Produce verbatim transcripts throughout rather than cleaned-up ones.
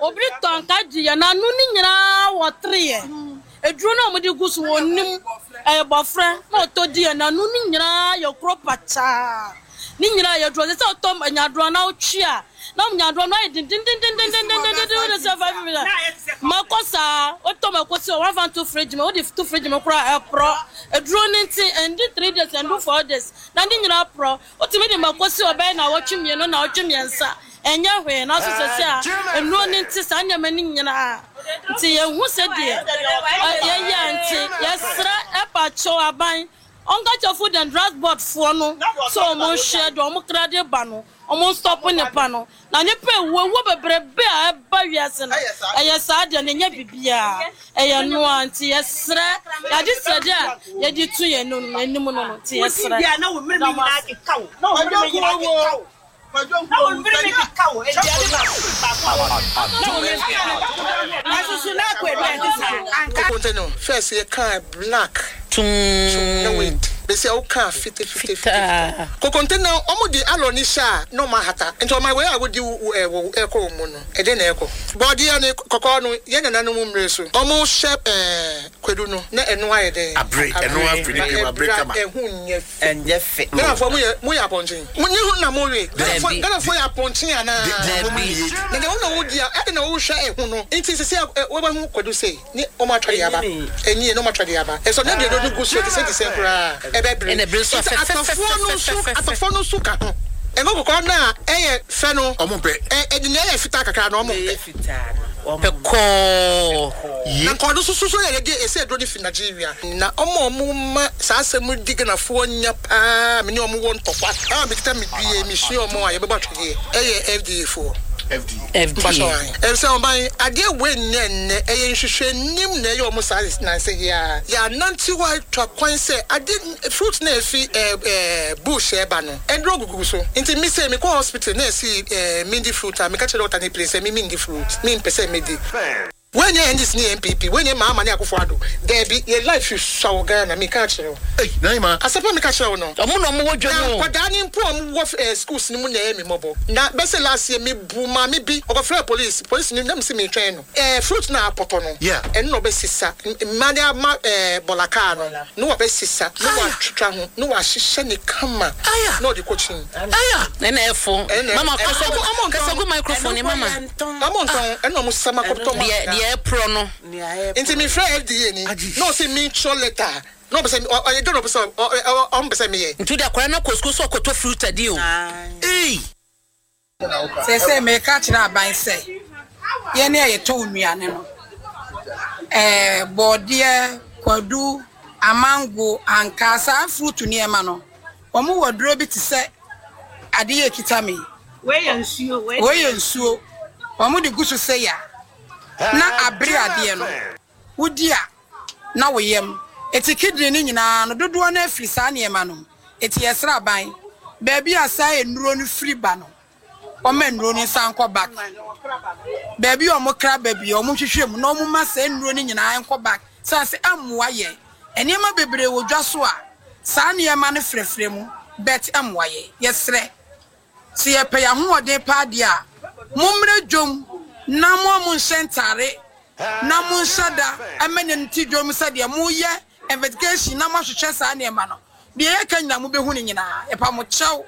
Obi tɔ anka di yɛ n'ano ne nyinaa wɔ tere yɛ eduro na wɔde gu so wɔ nim ɛyɛ bɔfrɛ na ɔtɔ di yɛ n'ano ne nyinaa yɛ kuro pakyaa ne nyinaa yɛ duro sɛ ɔtɔ nyadoa na ɔtwi a na nyadoa no ayɛ dendendendendendendenden de sɛ five minutes mako saa ɔtɔ mako si wɔn afa to fridge mu ɔde to fridge mu koraa ɛporɔ eduro ne nti ɛndi three days ɛndu four days na ne nyinaa porɔ otumi de mako si ɔbɛyɛ na ɔtwe mmienu na ɔtwe mmiɛnsa ɛnyɛ hwee na so sɛ sɛ a nnuro ne nti saa nneɛma ne nyinaa nti yɛhu sɛ deɛ yɛyɛ nti yɛsrɛ ɛpa kyɛw aban ɔnka kyɛ Food and Drugs Board foɔ no sɛ ɔmo nhwɛ deɛ ɔmo kra de ba no ɔmo nstop nipa no na nipa ewu ewu bebrebe a ɛba wiase no ɛyɛ saa deɛ no nyɛ bibiara ɛyɛ noa nti yɛsrɛ yɛade srɛdeɛ a yɛde tu yɛn anim no no nti yɛsrɛ. Na wo mmiri mi nyinaa keka wo na wo mmiri mi nyinaa keka wo na wo mmiri mi keka wo aduane baako baako na wo mmiri na soso na akɔ aduane saa anka. Kokonte no first yɛ kaa black tum na wait bɛsi a wokaa fite fite fite kokonte na ɔmo de alɔ ni hyɛ a na ɔmo ahata nti ɔmo wei a wodi ɛwɔ ɛkɔ wɔn mu no ɛde na ɛkɔ bɔɔdeɛ ne kɔkɔɔ no yɛn nananom mmerɛ so ɔmo hyɛ ɛɛ kwadu no na ɛno ayɛ dɛ abere ɛno afiri ne piem abere kama ɛho nyɛ fɛ ɛnyɛ fɛ Ghanafoɔ mo yɛ mo yɛ apɔnkyen mo ne ho na mo we Ghanafoɔ Ghanafoɔ yɛ apɔnkyen anaa na deɛ wɔn na wɔdi a ɛde na wɔhwɛ ɛho no nti sisi a wɔbɛho kwadu sei ne ɔmo atwa de aba ɛnie ne ɔmo atwa de aba ɛsɔ ne deɛ no gu so te sɛ te sɛ koraa ɛbɛbere Ɛna ebere nso nti atɔfoɔ no nso afɛfɛfɛfɛfɛ. atɔfoɔ no nso ka ho ɛngo kɔkɔɔ no a ɛyɛ fɛ no ɔmo mpɛ ɛ ɛde nea ɛyɛ fitaa kakra no ɔmo mpɛ fitaa no pɛ kɔɔ na nkɔɔ no soso so yɛ yɛde ɛsɛ aduro no fi Nigeria na ɔmo a ɔmo ma saa asɛm di Ghanafoɔ nya paa me ne ɔmo wɔ ntɔkwa a mekita me due mesua ɔmo a yɛbɛbɔ atwedeɛ ɛyɛ F D A foɔ. F D A. F D A. Ɛsɛ ɔban adeɛ wei nyɛ nnɛ ɛyɛ nhwehwɛnim na ɛyɛ ɔmo saa nansa yi a yɛanante hɔ atwa kwan sɛ ade fruit na efi ɛɛ ɛɛ bush ɛba no ɛduro gugu so nti mi sɛ mi kɔ hospital na ɛsi ɛɛ mindi fruit a meka kyerɛ doctor ne place sɛ mi mindi fruit mi mpɛ sɛ mi di wɔnyɛ N D C ne N P P wɔnyɛ Mahama ne Akufo Addo dɛbi yɛ life sua wɔ Ghana mi ka kyerɛ wo Ei, Naima. Asɛpɛ mi ka kyerɛ wo no ɔmo na ɔmo wɔ dwa na mu o nkwadaa ne mpo a ɔmo wɔ ɛɛ schools ne mu na ɛyɛ mi mɔbɔ na bɛsɛ last year mi bu maame bi ɔkɔfrɛ police police ni nam si mi twɛn no ɛɛ fruit na apɔtɔ no Yeah. ɛno na ɔbɛsisa mmaa de ama ɛɛ bɔla kaa no na wɔbɛsisa na wɔatwitwa ho na wɔahyehyɛ ne kama Aya. na ɔde kɔ kyin. Aya. Ɛna ɛfo Ɛna- mama ɛ- kasa ɔmo- ɔmo ntɔn. kasa gu microphone ni mama. Ɔmo ntɔn ɛna ɔmo sama kɔtɔ ma. Deɛ deɛ ɛporɔ no. Nti mi frɛ F D A ni Agye. na ɔsɛ mi twerɛ letter na ɔbɛ sɛ ɔ ɔyɛ dɔn na ɔbɛ sɛ ɔ ɔ ɔmo bɛ sɛ mi yɛ. Nti wode akwadaa no akɔ sukuu sɛ ɔkɔtɔ fruit adi o. Ei. Sɛ sɛ meka kyerɛ aban sɛ yɛne a yɛtɔn nnuane no ɛɛ bɔɔdeɛ kwadu amango ankaa saa fruit nneɛma no wɔn wɔ duro bi te sɛ adeɛ ekita mi. Wei yɛ nsuo wei. Wei yɛ nsuo wɔn de gu so sɛ ya na abere adeɛ no wodi a na wo yam eti kidney no nyinaa no dodoɔ no afiri saa nneɛma no mu eti yɛsrɛ aban beebi a saa nnuro no firi ba no wɔma nnuro no nsa nkɔ back beebi a wɔn kra baabi a wɔn hwehwɛ mu na wɔn ma saa nnuro no nyinaa nkɔ back san sɛ ɛmmoa yɛ nneɛma bebree wɔ dwa so a saa nneɛma no frɛfrɛ mu bɛt ɛmmoa yɛ yɛsrɛ sɛ yɛpɛ yɛn ahoɔden paa deɛ a mommrɛ dwom na mo a monhyɛ ntare na monhyɛ da ɛmɛ ne nti dwom sɛdeɛ moyɛ investigation na moahwehwɛ saa nneɛma no deɛ yɛka nyinaa mobɛhu no nyinaa yɛpa mo kyɛw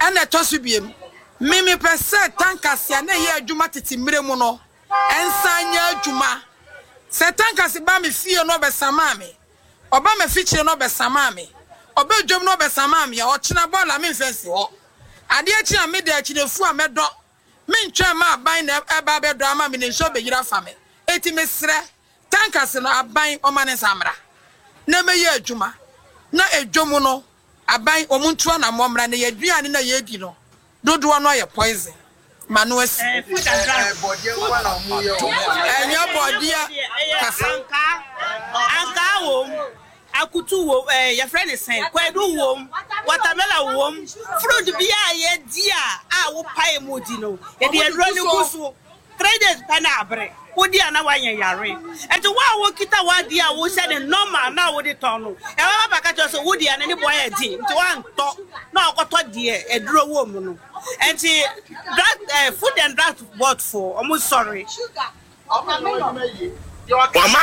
ɛna ɛtɔ so biem me mepɛ sɛ tankase a na ɛyɛ adwuma tete mmerɛ mu no ɛnsan nyɛ adwuma sɛ tankase ba me fie no ɔbɛsamaa me ɔba me fikyire no ɔbɛsamaa me ɔbɛ dwom no ɔbɛsamaa me a ɔkyena bɔɔla memfɛ nsi hɔ adeɛ kyi a meda akyirefu a mɛdɔ mentwɛn ma aban na ɛba bɛdɔ ama me ne nsuo bɛyiri afa me eti mesrɛ tankase no aban ɔma ne nsa mmra na mɛyɛ adwuma na edwom no aban ɔmo ntu anammɔ mmra na yɛaduane na yɛdi no dodoɔ no ayɛ poison ma no asi ɛnyɛ bɔdeɛ kasa. Ankaa ankaa wom akutu wom ɛɛ yɛfrɛ ne sɛn kwadu wom watermelon wom fruit bi a yɛdi a a wopae mu di no yɛde aduro no gu so. Three days pɛ na abere. Wodi a na wanyɛ yare. Nti wo a wokita w'adeɛ a wohyɛ ne normal na wode tɔn no, ɛbɛba bɛka kyerɛ sɛ wodi a n'ani bɔ yɛ den nti woantɔ na ɔkɔtɔ deɛ aduro wɔ mu no. Nti drug eh, food and drug board foɔ, ɔmo sɔre. Wama